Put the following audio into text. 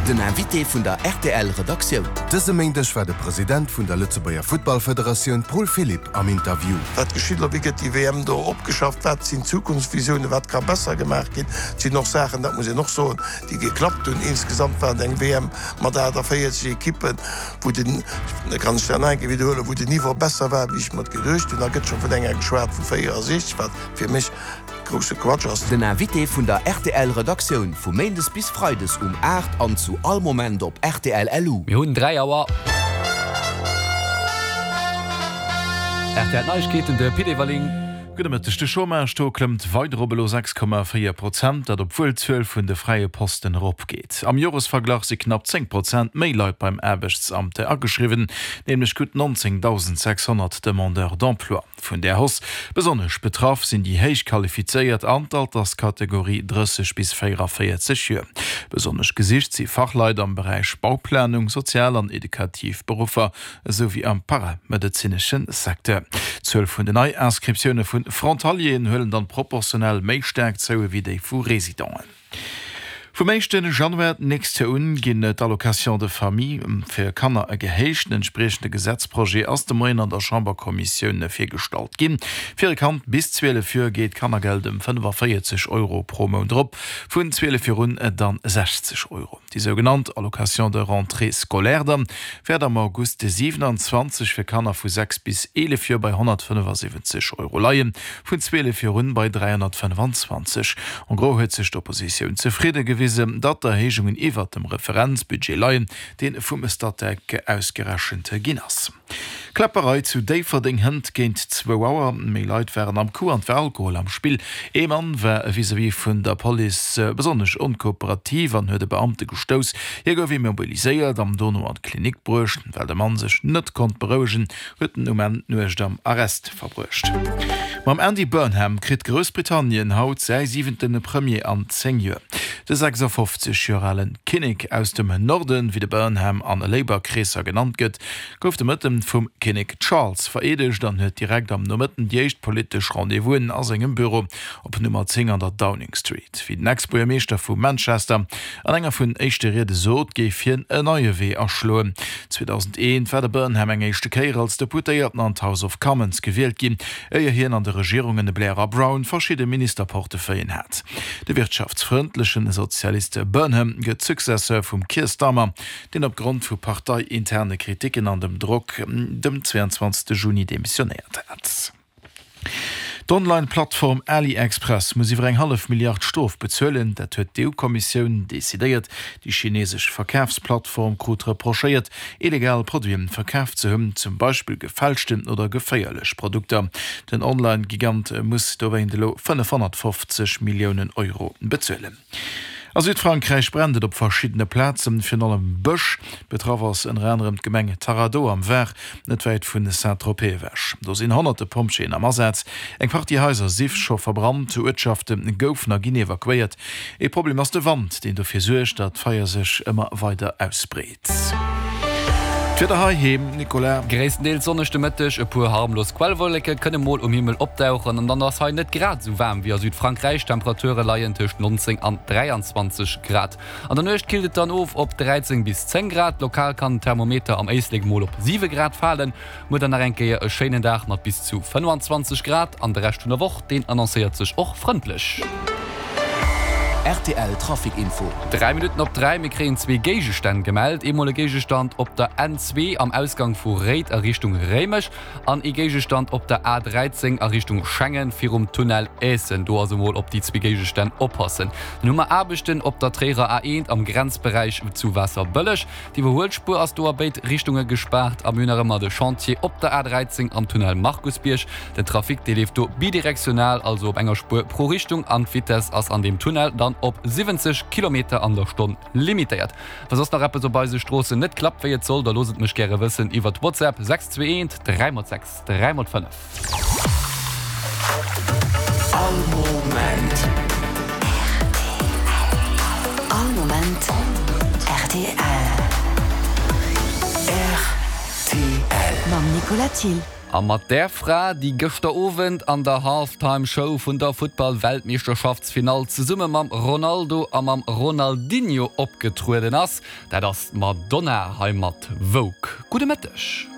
Den Invité vun der rtl Redaktioun. Dëse Méindeg war de President vun der Lëtzebuerger Futtballfederatioun Paul Philipp am Interview. Wat geschitt elo? Wéi gëtt déi WM do opgeschafft? Wat sinn d'Zukunftsvisiounen? Wat ka besser gemaach ginn? Et sinn och Saachen, dat muss een och soen, déi geklappt hunn. Insgesamt war et eng WM mat 48 Ekippen, wou den, da kann ech dat nach eng Kéier widderhuelen, wou den Niveau besser war, wéi ech mer et geduecht hunn. Da gëtt scho vun enger geschwat vu 64, wat fir mech Grousse Quatsch ass. Den Invité vun der rtl Redaktioun vu Méindes bis Freides um 8 an zu all Moment op rtl LU. Mir hunn 3 Auer. Rtl Neiegkeeten, de Pit Everling. Gudde Mëtteg. De Chômage-Taux klëmmt weider op elo 6,4 Prozent, dat obwuel d'Zuel vun de fräie Posten eropgeet. Am Joresverglach si knapp 10 Prozent méi Leit beim Aarbechtsamt ageschriwwen, nämlech gutt 19.600 Demandeurs d'emploi. Vun där Hausse besonnesch betraff sinn déi héich Qualifizéiert an d'Alterskategorie 30 bis 44 Joer. Besonnesch gesicht si Fachleit am Beräich Bauplanung, sozial an edukativ Beruffer esou wéi am paramedezinesche Secteur. D'Zuel vun den Nei-Inscriptioune vu Frontalieren huelen dann proportionell méi staark zou ewéi déi vu Residenten. Vum éischte Januar d'nächst Joer un ginn d'Allocations de famille fir Kanner gehéicht. Den entspriechende Gesetzprojet ass de Moien an der Chamberkommissioun virgestallt ginn. Fir e Kand bis 12 Joer geet d'Kannergeld ëm 45 Euro pro Mount erop, vun 12 Joer un dann 60 Euro. Déi sougenannt Allocation de rentrée scolaire dann wäert am August 27 fir Kanner vu 6 bis 11 Joer bei 175 Euro leien, vun 12 Joer un bei 325. En gros huet sech d'Oppositioun zefridde gewisen, datt d'Erhéijungen iwwert dem Referenzbudget leien, dee vum Statec ausgerechent ginn ass. Kläpperei zu Déifferdeng hënt géint zwou Auer. Méi Leit waren am Coup an et war Alkohol am Spill. Ee Mann war vis-à-vis vun der Police besonnesch onkooperativ an huet e Beamte gestouss. Hie gouf immobiliséiert an dono an d'Klinik bruecht. Well de Mann sech net konnt berouegen, huet en um Enn d'Nuecht am Arrest verbruecht. Mam Andy Burnham kritt Groussbritannien haut säi siwente Premier an 10 Joer. De 56 Joer ale Kinnek aus dem Norden, wéi de Burnham an Labour-Kreesser genannt gëtt, gouf de Mëtten vum Kinnek Charles vereedegt an huet direkt am Nomëtten déi éischt politesch Rendez-vousen a sengem Büro op Nummer 10 an der Downing Street. Wéi den Ex-Buergermeeschter vu Manchester an enger vun éischte Riede sot, géif hien en neie Wee aschloen. 2001 war de Burnham eng éischte Kéier als Deputéierten an d'House of Commons gewielt ginn, éier hien an de Regierungen Blair a Brown verschidde Ministerportefeuillen hat. De wirtschaftsfrëndlechen Sozialist Burnham gëtt Successeur vum Keir Starmer, deen op Grond vu parteiinterne Kriticken an dem Drock dem 22 Juni demissionéiert hat. D'Online-Plattform AliExpress muss iwwer eng hallef Milliard Strof bezuelen. Dat huet d'EU-Kommissioun decidéiert. Déi chinesesch Verkafsplattform krut reprochéiert, illegal Produiten verkaf ze hunn, zum Beispill gefälschten oder geféierlech Produkter. Den Online-Gigant muss dowéint elo 550 Milliounen Euro bezuelen. A Südfrankräich brennt et op verschiddene Plazen, virun allem Bësch. Betraff ass ënner anerem d'Gemeng Taradeau am Var, net wäit vu Saint-Tropez ewech. Do sinn honnerte Pompjeeën am Asaz. Eng Partie Haiser si scho verbrannt, Uertschafte goufen a ginn evakuéiert. Ee Problem ass de Wand, deen dofir suergt, datt d'Feier sech ëmmer weider ausbreet. D'Wieder heiheem, Nicolas. Gréisstendeels sonneg de Mëtteg, e puer harmlos Quellwolleke kënne mol um Himmel opdauchen an dann ass hei net grad esou waarm wéi a Südfrankräich. D'Temperature leien tëscht 19 an 23 Grad. An der Nuecht killt et dann of op 13 bis 10 Grad, lokal kann den Thermometer am Éislek mol op 7 Grad falen. Muer dann nach eng Kéier e schéinen Dag mat bis zu 25 Grad an de Rescht vun der Woch, deen annoncéiert sech och frëndlech. Rtl Trafic Info. 3 Minutten op 3, Mir kréien zwee Géigestänn gemellt. Eemol e Géigestand op der N2 am Ausgang vu Réid a Richtung Réimech an ee Géigestand op der A13 a Richtung Schengen virum Tunnel Aessen. Do also mol op déi zwee Géigestänn oppassen. Dann hu mer Aarbechten op der Tréierer A1 am Grenzberäich zu Waasserbëlleg. D'Iwwerhuelspuer ass do a béid Richtunge gespaart a mir hunn nach ëmmer de Chantier op der A13 am Tunnel Markusbierg. Den Trafic, dee leeft do bidirektional, also op enger Spuer pro Richtung an d'Vitess ass an deem Tunnel dann op 70 Kilometer an der Stonn limitéiert. Wa soss nach eppes op eise Stroossen net klappt wéi et soll, da loosst et mech gäre wëssen iwwert WhatsApp 621 3 x 6 3 x 5. All Moment. All Moment rtl. Rtl. Mam Nicolas Thill. A mat där Fra, déi gëschter Owend an der Half-Time Show vun der Futtball-Weltmeeschterschaftsfinall zesumme mam Ronaldo a mam Ronaldinho opgetrueden ass, dat ass d'Madonna hei mat Vogue. Gudde Mëtteg.